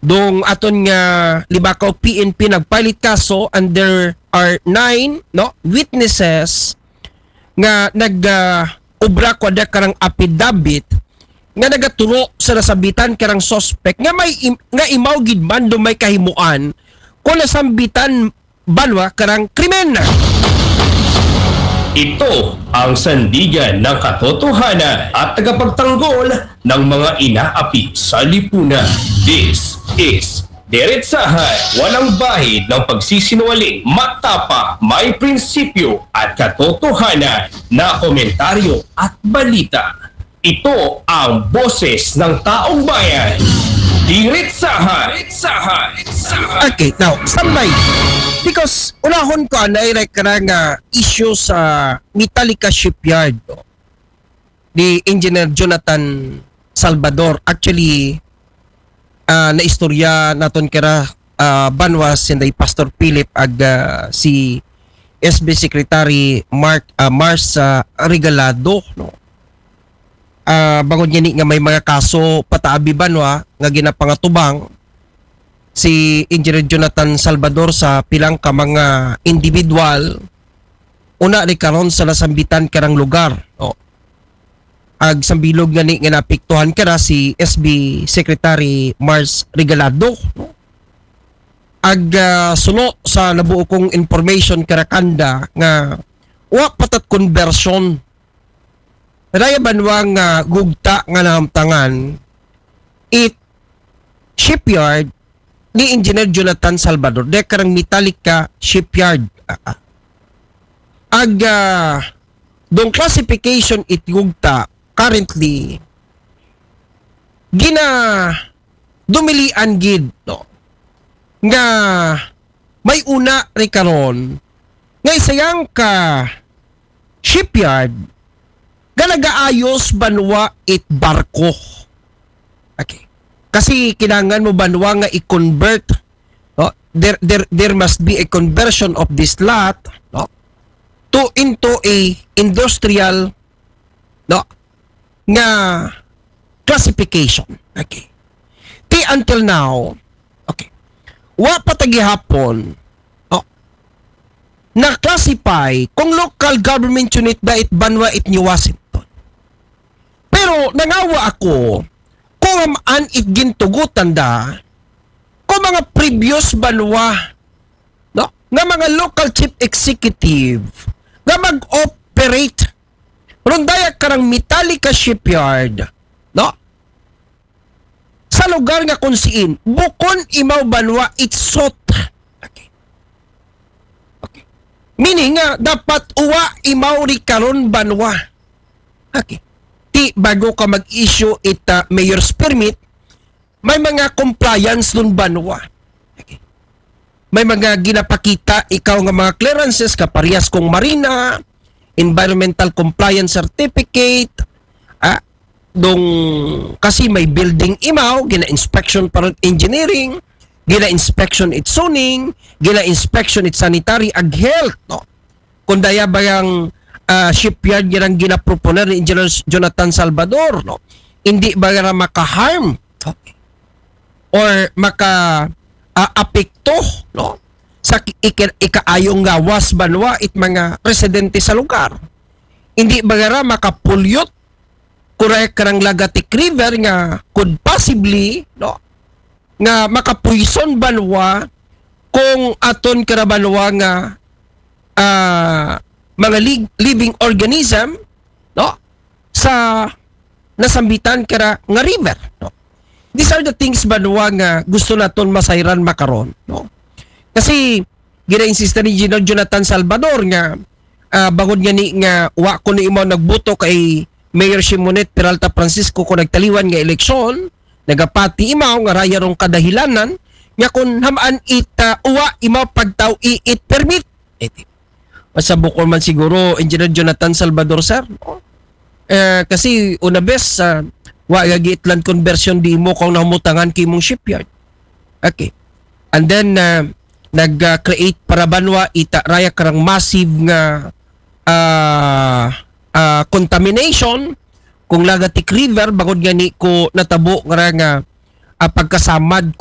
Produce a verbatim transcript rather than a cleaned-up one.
Dong aton nga Libacao P N P nagpilit kaso, and there are nine, no, witnesses nga nag ah, obra kuwada karang affidavit nga nagaturo sa nasambitan karang suspect nga may im- nga imaw gid man do may kahimuan kung nasambitan banwa karang krimen. Ito ang sandigan ng katotohanan at tagapagtanggol ng mga inaapi sa lipunan. This is Diretsahan, walang bahid ng pagsisinungaling, matapa, may prinsipyo at katotohanan na komentaryo at balita. Ito ang boses ng taong bayan. Diretsahan. Diretsahan. Okay, now, standby. Because unahon ko anay rek karang ah, issue sa Metallica Shipyard, no? Ni Engineer Jonathan Salvador. Actually, ah, naistorya naton kara ah, banwa sinday Pastor Philip ag ah, si S B Secretary Mark ah, Mars ah, Regalado, no. Ah, bangod ngani nga may mga kaso pataabi banwa nga ginapangatubang si Engineer Jonathan Salvador sa pilang ka mga individual, una ni karon sa nasambitan karang lugar. O, ag sambilog ngani nga naapektuhan kara si S B Secretary Mars Regalado, no? Ag ah, suno sa nabuo kong information kara kanda nga wa patat conversion raya banwa nga gugta nga nahamtangan it shipyard ni Engineer Jonathan Salvador, de karang Metallica Shipyard. Ah, ah. Ag ah, dong classification it gugta currently gina dumilian gid, no, nga may una ri karon nga isayang ka shipyard nga nagaayos banwa it barko. Okay. Kasi kinahanglan mo banwa nga i-convert, no? There, there, there must be a conversion of this lot, no, to into a industrial, no, nga classification. Okay. Ti until now, okay, wa pa ta gihapon, no, na-classify kung local government unit ba it banwa it New Washington. Pero nangawa ako kung an it gintugutan da kung mga previous banwa, no, nga mga local chief executive nga mag-operate rundaya karang Metallica Shipyard, no, sa lugar nga kung siin bukon imaw banwa it sot. Okay. Okay. Meaning nga dapat uwa imaw ri karon banwa. Okay. Ti bago ka mag-issue it ah, mayor's permit, may mga compliance nun banwa. Okay. May mga ginapakita ikaw nga mga clearances kaparehas kung marina, environmental compliance certificate, ah, dong kasi may building imaw, gina-inspection para engineering, gina-inspection it zoning, gina-inspection it sanitary ag health, no? Kung daya ba yang ah, shipyard nga ginaproponer ni Engineer Jonathan Salvador, no? Hindi ba ra maka-harm, okay, or maka ah, apekto, no, sa ki- ika- ikaayong gawas banwa it mga residente sa lugar? Hindi ba ra maka-pollute, correct, karang Lagatic River nga could possibly, no, nga makapuison banwa kung aton kara banwa nga ah, mga li- living organism, no, sa nasambitan kara nga river, no? These are the things banwa nga gusto naton masayran makaron, no? Kasi gina-insista ni Engineer Jonathan Salvador nga ah, bangod ngani nga wa kuno imaw nagboto kay Mayor Shimonet Peralta Francisco kung nagtaliwan nga eleksyon, nagapati imaw nga raya rong kadahilanan nga kung ham-an it ah, uwa imaw pagtaw-i it permit. Eh, di- Masabukon man siguro, Engineer Jonathan Salvador, sir, no? Eh, kasi una bes, ah, wa gagi it land conversion di imo kung nahamutangan kay imong shipyard. Okay. And then, ah, nag-create para banwa ita raya karang massive nga ah, ah, contamination kung Lagatic River, bangod ngani ko natabo nga ra nga ah, pagkasamad